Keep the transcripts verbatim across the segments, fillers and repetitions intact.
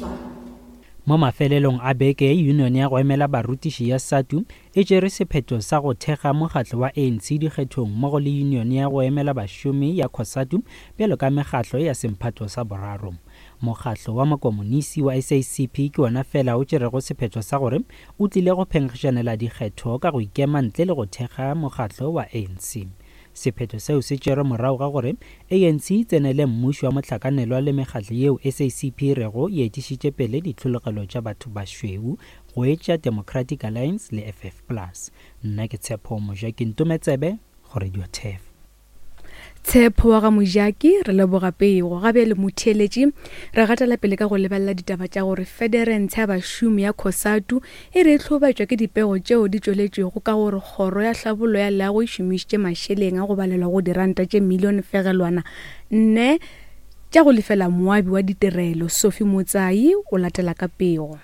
Viva. Mo mafelelong a beke, yunione ya go emela barutiši ya SADTU e tšere sephetho sa go thekga mokgatlo wa A N C dikgethong mmogo le yunione ya go emela bašomi ya COSATU bjalo ka mekgatlo ya semphato sa boraro. Mokgatlo wa makomonisi wa S A C P ke wona fela o tšerego sephetho sa gore o tlile go phenkgišanela dikgetho ka go ikema ntle le go thekga mokgatlo wa A N C. Sephetho seo se tšerwe morago ga gore A N C e tsenele mmušo wa mohlakanelwa le mekgatlo yeo S A C P e rego e etišitše pele ditlhologelo tša batho bašweu go etša Democratic Alliance le F F plus. Nna ke Tshepo Mojaki Ntometsebe go Radio Turf. Tshepo wa ga Mojaki, re leboga pego. Ga bjale, motheeletši, re gatela pele ka go lebelela ditaba tša gore federentshe ya bašomi ya COSATU e re e hlobaetšwa ke dipego tšeo di tšweletšwego ka gore kgoro ya hlabollo ya leago e šomišitše mašeleng a go balelwa go diranta tše milione fegelwana nne tša go lefela moabi wa ditirelo. Sophie Motsai o latela ka pego.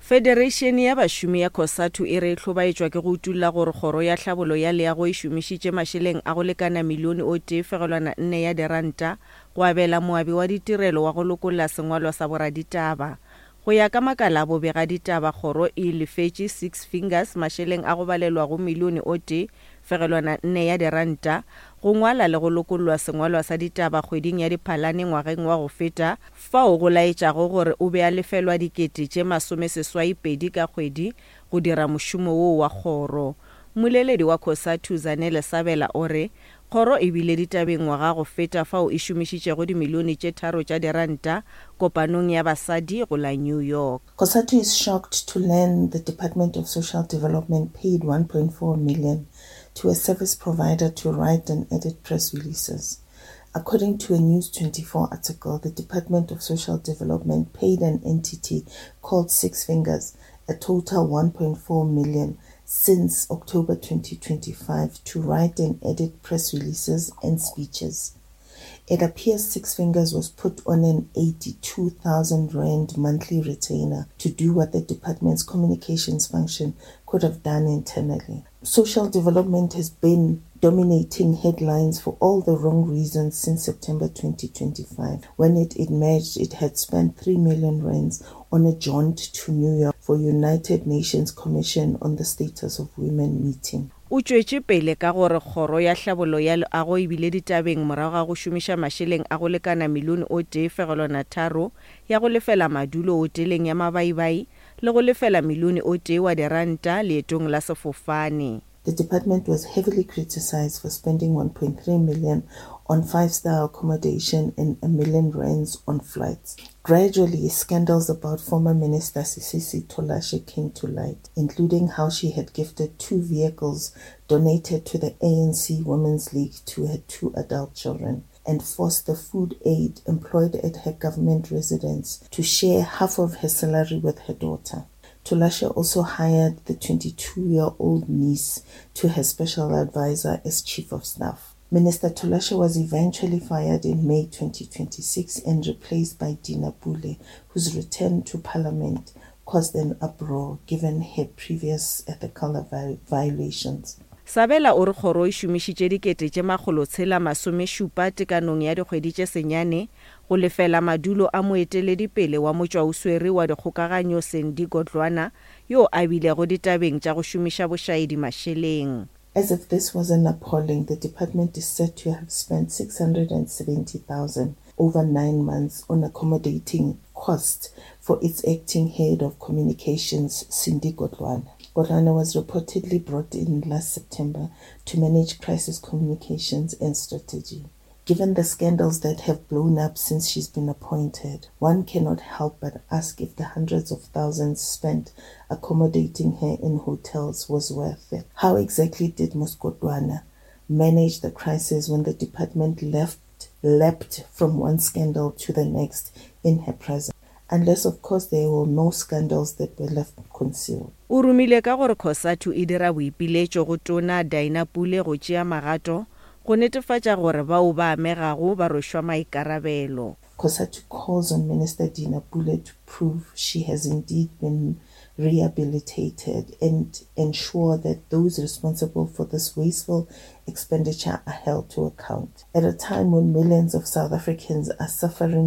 Federeišene ya bašomi ya COSATU e re e hlobaetšwa ke go utulla gore kgoro ya tlhabollo ya leago e šomišitše mašeleng a go lekana milione o tee fegelwana nne ya diranta go abela moabi wa ditirelo wa go lokolla sengwalwa sa boraditaba. Go ya ka makala a bobegaditaba, kgoro e lefetše Six Fingers mašeleng a go balelwa go milione o tee fegelwana nne ya diranta go ngwala le go lokollwa sengwalwa sa ditaba kgweding ya Diphalane ngwageng wa go feta, fao go laetšago gore o be a lefelwa dikete tše masomeseswai pedi ka kgwedi go dira mošomo woo wa kgoro. Mmoleledi wa COSATU Zanele Sabela o re kgoro e bile ditabeng ngwaga go feta fao e šomišitšego dimilione tše tharo tša diranta kopanong ya basadi go la New York. COSATU is shocked to learn the Department of Social Development paid one point four million to a service provider to write and edit press releases. According to a News twenty-four article, the Department of Social Development paid an entity called Six Fingers a total one point four million since October twenty twenty-five to write and edit press releases and speeches. It appears Six Fingers was put on an eighty-two thousand rand monthly retainer to do what the department's communications function could have done internally. Social development has been dominating headlines for all the wrong reasons since September twenty twenty-five, when it emerged it had spent three million rands on a jaunt to New York for United Nations Commission on the Status of Women meeting. O tšwetše pele ka gore kgoro ya tlhabollo ya leago e bile ditabeng morago ga go šomiša mašeleng a go lekana milione o tee fegelwana tharo ya go lefela madulo hoteleng ya mabaibai le go lefela milione o tee wa diranta leetong la sefofane. The department was heavily criticized for spending one point three million on five-star accommodation and a million rands on flights. Gradually, scandals about former Minister Sisisi Tolashe came to light, including how she had gifted two vehicles donated to the A N C Women's League to her two adult children and forced the food aide employed at her government residence to share half of her salary with her daughter. Tolashe also hired the twenty-two-year-old niece to her special advisor as chief of staff. Minister Tolashe was eventually fired in May twenty twenty-six and replaced by Dina Pule, whose return to parliament caused an uproar given her previous ethical violations. Sabela o re kgoro e šomišitše dikete tše makgolotshela masomešupa tekanong ya dikgwedi tše senyane go lefela madulo a moeteledipele wa motšwaoswere wa dikgokaganyo Sandy Godlwana, yo a bilego ditabeng tša go šomiša bošaedi mašeleng. As if this wasn't appalling, the department is said to have spent six hundred seventy thousand over nine months on accommodating costs for its acting head of communications, Cindy Godlwana. Godlwana was reportedly brought in last September to manage crisis communications and strategy. Given the scandals that have blown up since she's been appointed, one cannot help but ask if the hundreds of thousands spent accommodating her in hotels was worth it. How exactly did Miz Godlwana manage the crisis when the department left leapt from one scandal to the next in her presence? Unless, of course, there were no scandals that were left concealed. O rumile ka gore COSATU e dira boipiletšo go Tona Dina Pule go tšea magato go netefatša gore bao ba amegago ba rwešwa maikarabelo. COSATU calls on Minister Dina Pule to prove she has indeed been rehabilitated and ensure that those responsible for this wasteful expenditure are held to account. At a time when millions of South Africans are suffering